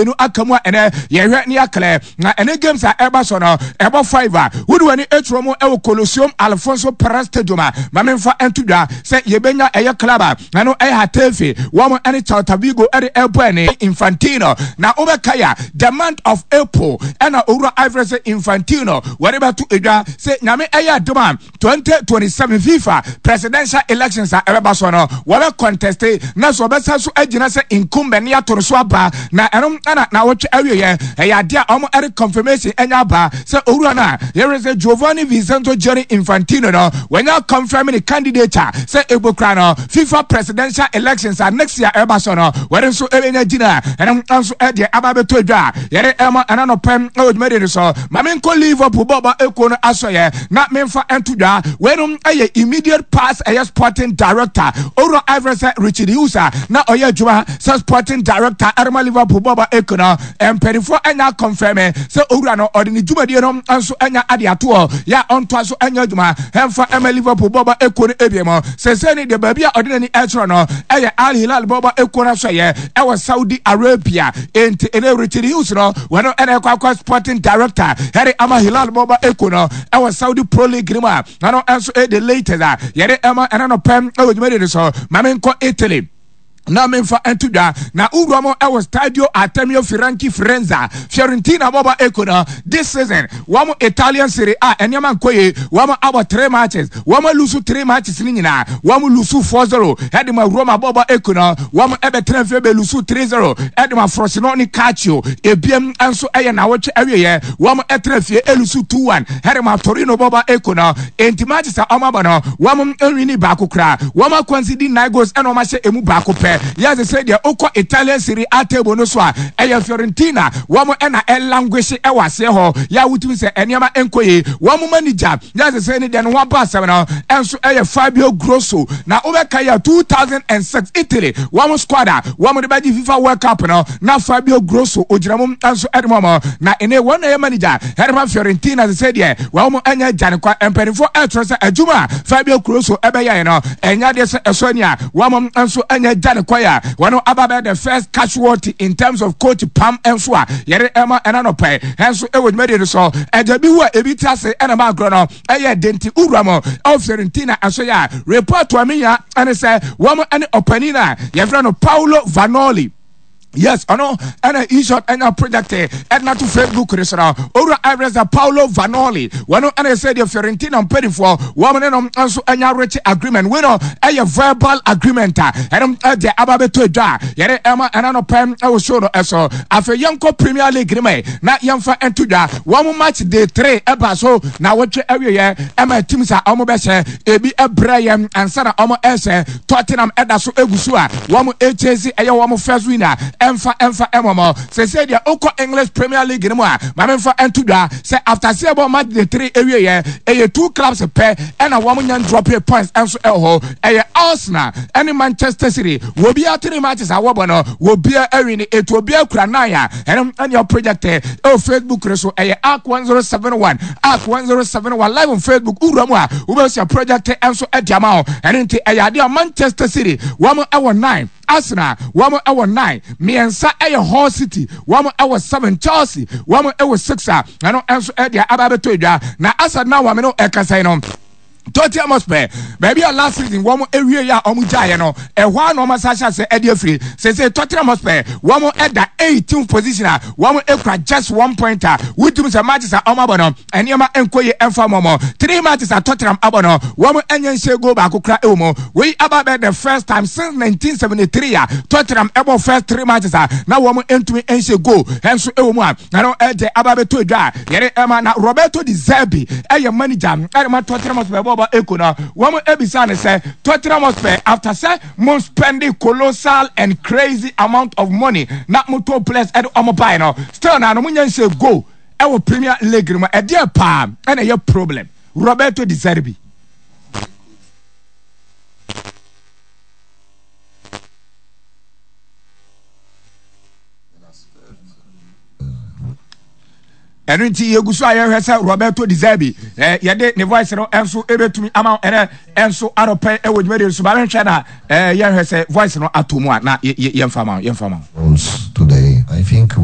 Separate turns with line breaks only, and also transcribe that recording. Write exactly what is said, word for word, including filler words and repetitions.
Mmienu aka mu a ɛnɛ yɛhwɛ ne yɛaklɛ na ɛne games a ɛba so no ɛbɔ five a wode w'ani aturo mu ɛwɔ Coliseum Alfonso Perez Stadium a, ma memfa nto dwa sɛ yɛbɛnya ɛyɛ club a ɛno ɛyɛ Getafe, wɔn ɛne Celta Vigo ɛde ɛbɔ. Ɛne Infantino na wobɛka ya the month of April ɛna owura Ivory sɛ Infantino wɔde bɛto edwa sɛ Nyame ɛyɛ adom a, twenty twenty-seven FIFA presidential elections a ɛbɛba so no, wɔbɛ contest na so wɔbɛsa so agyina sɛ incumbent ne ato no so aba. Na ɛno ɛna na wɔtwe awieɛ ɛyɛ adeɛ a wɔn ɛde confirmation ɛnya aba sɛ owura no a yɛrɛ sɛ Giovanni Vincenzo Gianni Infantino no, wɔnya confirm ne candidate a sɛ ebokura no FIFA presidential elections a next year ɛba so no, wɔde nso ɛbɛnya gyina. Ɛno nso ɛdeɛ aba abɛtɔ edwa a yɛde ɛma ɛna no pɛm ɛwɔ dwumadie no so. Maame nkɔ Liverpool bɔɔbɔ ekuo no asɔyɛ na memfa nto dwa, weinom ɛyɛ immediate past ɛyɛ sporting director owura Ivory sɛ Richard Hughes a na ɔyɛ adwuma sɛ sporting director ɛrema Liverpool bɔɔbɔ ekuo no, mpanimfoɔ ɛnya confirm sɛ owura no ɔde ne dwumadie no nso ɛnya ade atoɔ yɛ a ɔntoa so ɛnya adwuma ɛmfa ɛma Liverpool bɔɔbɔ ekuo no ebien mu. Sɛsɛ ne deɛ, baabi a ɔde n'ani ɛkyerɛ no ɛyɛ Al Hilal bɔɔbɔ ekuo no asɔyɛ ɛwɔ Saudi Arabia. Enti ɛnɛ Richard Hughes no, wɔn ɛna ɛkɔ akɔ sporting director ɛde ama Hilal bɔɔbɔ ekuo no ɛwɔ Saudi Pro League no mu a ɛno nso ɛyɛ the latest a yɛde ɛma ɛna no pɛm ɛwɔ dwumadie no so. Maame nkɔ Italy na memfa nto dwa na wowura mu ɛwɔ Stadio Artemio Franchi Firenze, Fiorentina bɔbɔ eko no, this season wɔn Italian Serie A nneɛma nkɔ yie. Wɔn abɔ three matches, wɔn lose three matches ne nyinaa. Wɔn lose four zero ɛde ma Roma bɔbɔ eko no, wɔn ɛbɛtena fie bɛ lose three zero ɛde ma Frosinone Calcio. Ebiem nso ɛyɛ nawɔtwe awieɛ, wɔn ɛtena fie ɛ lose two one ɛde ma Torino bɔbɔ eko no. Enti matches a wɔn abɔ no, wɔn n win baako koraa. Wɔn a concede nine goals ɛna wɔn ahyɛ emu baako pɛ. Yɛsɛ sɛ deɛ wokɔ Italian Serie A table no so a, ɛyɛ Fiorentina wɔn ɛna ɛ languish ɛwɔ aseɛ hɔ yɛ a wotumi sɛ nneɛma nkɔ yie. Wɔn manager, yɛsɛ sɛ ne deɛ no ho aba asɛm no ɛnso ɛyɛ Fabio Grosso. Na wobɛka yɛ two thousand and six Italy wɔn squad a wɔn de bɛgye FIFA World Cup no, na Fabio Grosso ogyina mu nso ɛde mu ɔmo. Na ɛnɛ wɔn na ɛyɛ manager ɛde ma Fiorentina. Sɛ sɛ deɛ wɔn ɛnyɛ gya ne kwa, mpanimfoɔ ɛtwerɛ sɛ adwuma a Fabio Grosso ɛbɛyɛ no ɛnyɛ adeɛ sɛ ɛsɔ ni a wɔn nso ɛnyɛ gya ne kwa a wɔn aba bɛyɛ the first casualty in terms of coach pam nso a yɛde ɛma ɛna no pɛ ɛnso ɛwɔ dwumadie no so. Ɛgya bi wu a ebi ti ase ɛna ma agorɔ no ɛyɛ denti wura mu ɛwɔ Fiorentina ɛso yɛ a report a menya ɛne sɛ wɔn ɛne ɔpanin a yɛfrɛ no Paolo Vanoli. Yes, ɔno ɛna eShot ɛnya project ɛna to Facebook ne so no, owura ɛrɛsɛ Paolo Vanoli, wɔno ɛna ɛsɛ deɛ Fiorentina mpanimfoɔ wɔn ne no nso ɛnya reach agreement. Wei no ɛyɛ verbal agreement a ɛno ɛdeɛ aba bɛtɔ adwa a yɛde ɛma ɛna no pɛm ɛwɔ show no ɛso. Afei yɛnkɔ Premier League ne mɛ na yɛmfa ɛnto dwa, wɔn match day three ɛba so na wɔtwe awieɛ ɛma teams a wɔn bɛhyɛ ebi ɛbrɛ yɛn ansa na wɔn ɛhyɛ. Tottenham ɛda so egu so a wɔn ɛkyɛsi ɛyɛ wɔn first winner ɛmfa ɛmfa ɛmɔmɔ. Sɛsɛ deɛ okɔ English Premier League no mu a, maame nfa ɛnto dwa sɛ after sɛ ɛbɔ match day three ewie yɛ, ɛyɛ two clubs pɛ ɛna wɔn nya drop points ɛnso ɛwɔ hɔ, ɛyɛ Arsenal ɛne Manchester City. Wɔbiara three matches a wɔbɔ no, wɔbiara ɛ win, etu obiara kura nine a ɛno ɛne project ɛwɔ Facebook no so. Ɛyɛ Arc one zero seven one, Arc one zero seven one live on Facebook. Wura mu a, wobɛsua project ɛnso ɛde ama wo. Ɛno nti ɛyɛ adeɛ a Manchester City wɔn ɛwɔ nine, Arsenal wɔn ɛwɔ nine, mmiɛnsa ɛyɛ Hull City wɔn ɛwɔ seven, Chelsea wɔn ɛwɔ six a ɛno ɛnso ɛde aba abɛtɔ edwa. Na asa na wɔn no ɛkasa yi no, Tottenham Hotspur, baabi a last season wɔn ewie yɛ a wɔn gyaeɛ no, ɛhɔ a na wɔn asa ahyɛ ase ɛde afiri. Sese Tottenham Hotspur wɔn ɛda eighteenth position a wɔn ekura just one point a wotum sɛ matches a wɔn abɔ no, nneɛma nkɔ yie ɛnfa wɔn mo. Three matches a Tottenham abɔ no, wɔn ɛnyɛ nhyɛ goal baako kora ɛwɔ mu. Wei aba bɛ the first time since nineteen seventy-three a Tottenham ɛbɔ first three matches a na wɔn ntumi nhyɛ goal ɛnso ɛwɔ mu a ɛno ɛde aba bɛtɔ edwa a yɛde ɛma. Na Roberto De Zerbi ɛyɛ manager ɛde ma Tottenham Hotspur bɔɔbɔ eko no, wɔn ebisa ne sɛ Tottenham Hotspur, after sɛ mo spending colossal and crazy amount of money na mo to players ɛde ɔmo buy no, still na no mo nya nhyɛ goal ɛwɔ Premier League no mu, ɛdeɛ paa ɛna ɛyɛ problem? Roberto De Zerbi. Ɛno nti yɛgu so a yɛhwɛ sɛ Roberto De Zerbi eh, yɛde ne voice no nso ɛbɛtumi ama ɛnɛ ɛnso anɔpɛ ɛwɔ dwumadie so. Ba bɛhwɛ na eh, yɛhwɛ sɛ voice no ato mu a na yɛmfa ma yɛmfa ma
Today, I think we